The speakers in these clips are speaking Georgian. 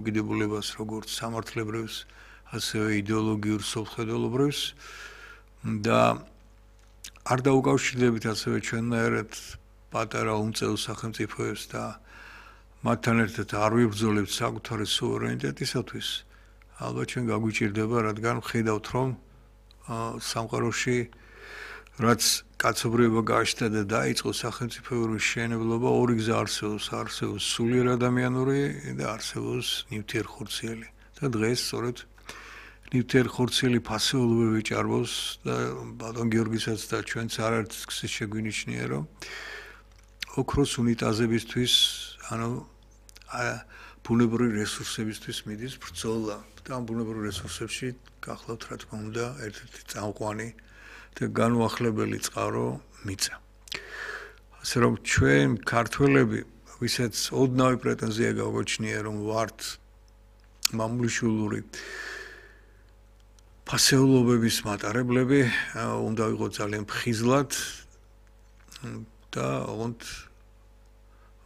გიდებულებას როგორც სამართლებრივს, ასევე იდეოლოგიურ სოფხედელობრივს და არ დაუკავშირდებით ასევე ჩვენნაირად პატარა უმწევრ სახელმწიფოებს და მათთან ერთად არ ვიბრძოლებთ საკუთარი სუვერენიტეტისათვის, ალბათ ჩვენ გაგვიჭირდება, რადგან ვხედავთ, რომ სამყაროში რაც კაცობრიობა გაჩნდა და დაიწყო სახელმწიფოური მშენებლობა, ორი გზა არსებობს სულიერ ადამიანური და არსებობს ნივთიერხორციელი. და დღეს სწორედ ნივთიერხორციელი ფასეულობები ჭარბობს და ბატონ გიორგისაც და ჩვენც არაერთ გზის შეგვინიშნია, რომ ოქროს უნიტაზებისთვის, ბუნებრივი რესურსებისთვის მიდის ბრძოლა და ამ ბუნებრივ რესურსებში გახლავთ, რა თქმა უნდა, ერთ-ერთი წამყვანი და განუახლებელი წყარო მიწა. ასე რომ ჩვენ ქართველები, ვისაც ოდნავი პრეტენზია გაგვაჩნია, რომ ვართ მამულიშვილური ფასეულობების მატარებლები, უნდა ვიყოთ ძალიან ფხიზლად და ოღონდ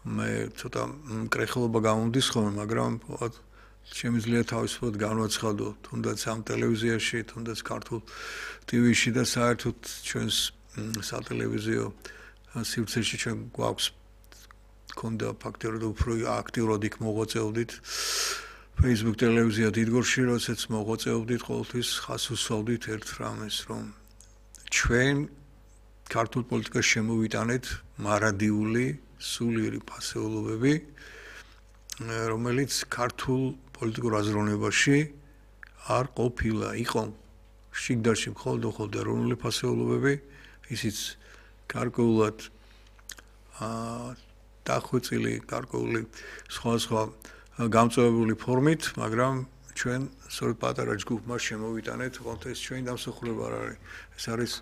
მე ცოტა მკრეხელობა გამომდის ხოლმე, მაგრამ შემიძლია თავისუფლად განვაცხადო, თუნდაც ამ ტელევიზიაში, თუნდაც ქართულ ტივიში და საერთოდ ჩვენს სატელევიზიო სივრცეში ჩვენ გვაქვს ქონდა ფაქტობრივად უფრო აქტიურად იქ მოღვაწეობდით. Facebook ტელევიზია დიდგორში, როდესაც მოღვაწეობდით, ყოველთვის ხას უსვავდით ერთ რამეს, რომ ჩვენ ქართულ პოლიტიკაში შემოვიტანეთ მარადიული სულიერი ფასეულობები, რომელიც ქართულ პოლიტიკურ აზროვნებაში არ ყოფილა. იყო შიგდარში მხოლოდ ეროვნული ფასეულობები, ისიც გარკვეულად დახვეწილი, გარკვეული სხვა გამწვავებული ფორმით, მაგრამ ჩვენ სწორედ პატარა ჯგუფმა შემოვიტანეთ, თუმცა ეს ჩვენი დამსახურება არ არის. ეს არის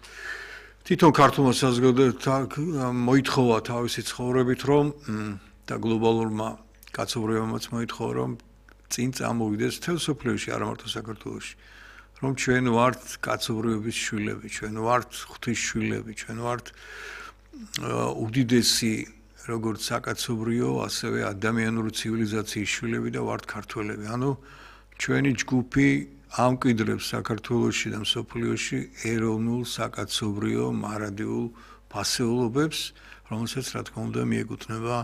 თვითონ ქართულმა საზოგადოებამ მოითხოვა თავისი ცხოვრებით, რომ და გლობალურმა კაცობრიობამაც მოითხოვა, რომ წინ წამოვიდეს მთელ მსოფლიოში, არა მარტო საქართველოში, რომ ჩვენ ვართ კაცობრიობის შვილები, ჩვენ ვართ ღვთის შვილები, ჩვენ ვართ უდიდესი როგორც საკაცობრიო, ასევე ადამიანური ცივილიზაციის შვილები და ვართ ქართველები. ანუ ჩვენი ჯგუფი ამკვიდრებს საქართველოში და მსოფლიოში ეროვნულ საკაცობრიო მარადიულ ფასეულობებს, რომელსაც რა თქმა უნდა მიეკუთვნება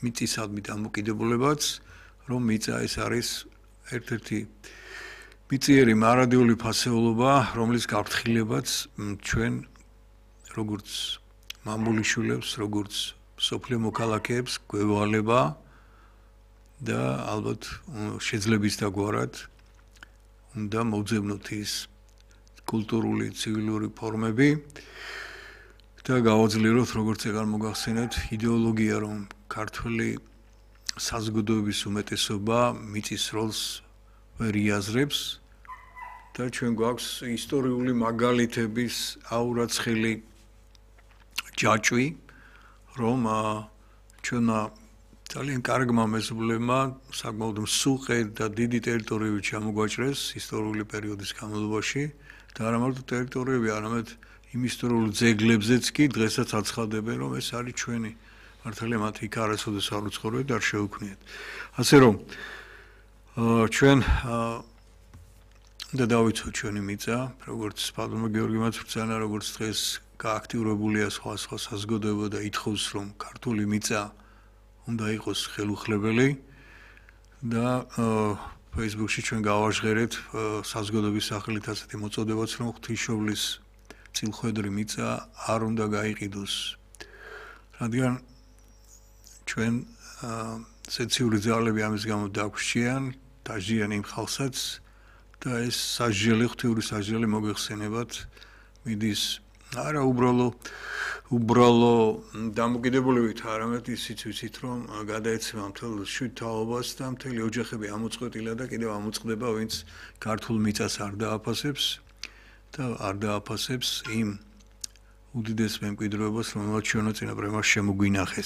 მიწისადმი დამოკიდებულებაც, რომ მიწა ეს არის ერთ-ერთი მიწიერი მარადიული ფასეულობა, რომლის გაფრთხილებაც ჩვენ როგორც მამულიშვილებს, როგორც სოფლიო მოქალაქეებს გვევალება და ალბათ შეძლების დაგვარად უნდა მოვძებნოთ ის კულტურული, ცივილური ფორმები და გავაძლიეროთ, როგორც ეგარ მოგახსენეთ, იდეოლოგია, რომ ქართული საზოგადოების უმეტესობა მიწის როლს ვერ იაზრებს და ჩვენ გვაქვს ისტორიული მაგალითების აურაცხელი ჯაჭვი, რომ ჩვენმა ძალიან კარგმა მეზობლებმა საკმაოდ მსუყე და დიდი ტერიტორიები ჩამოგვაჭრეს ისტორიული პერიოდის განმავლობაში და არა მარტო ტერიტორიები, არამედ იმ ისტორიულ ძეგლებზეც კი დღესაც აცხადებენ, რომ ეს არის ჩვენი. მართალია მათ იქ არასოდეს არ უცხოვრებთ და არ შეუქმნიათ. ასე რომ ჩვენ და დავიცოთ ჩვენი მიწა, როგორც ბატონმა გიორგიმაც ბრძანა, როგორც დღეს გააქტიურებულია სხვა საზოგადოება და ითხოვს, რომ ქართული მიწა უნდა იყოს ხელუხლებელი და Facebook-ში ჩვენ გავაჟღერეთ საზოგადოების სახელით ასეთი მოწოდებაც, რომ ღვთისმშობლის წილხვედრი მიწა არ უნდა გაიყიდოს. რადგან ჩვენ სეციური ძალები ამის გამო დაგვსჯიან, დაჟიან იმ ხალხსაც და ეს სასჯელი, ღვთიური სასჯელი მოგეხსენებათ მიდის არა უბრალო დამოკიდებულებით, არამედ ისიც ვიცით, რომ გადაეცემა მთელ შვიდ-თაობას და მთელი ოჯახები ამოწყვეტილა და კიდევ ამოწყდება, ვინც ქართულ მიწას არ დააფასებს და არ დააფასებს იმ უდიდეს მემკვიდრეობას, რომელსაც ჩვენო წინაპრებმა შემოგვინახეს.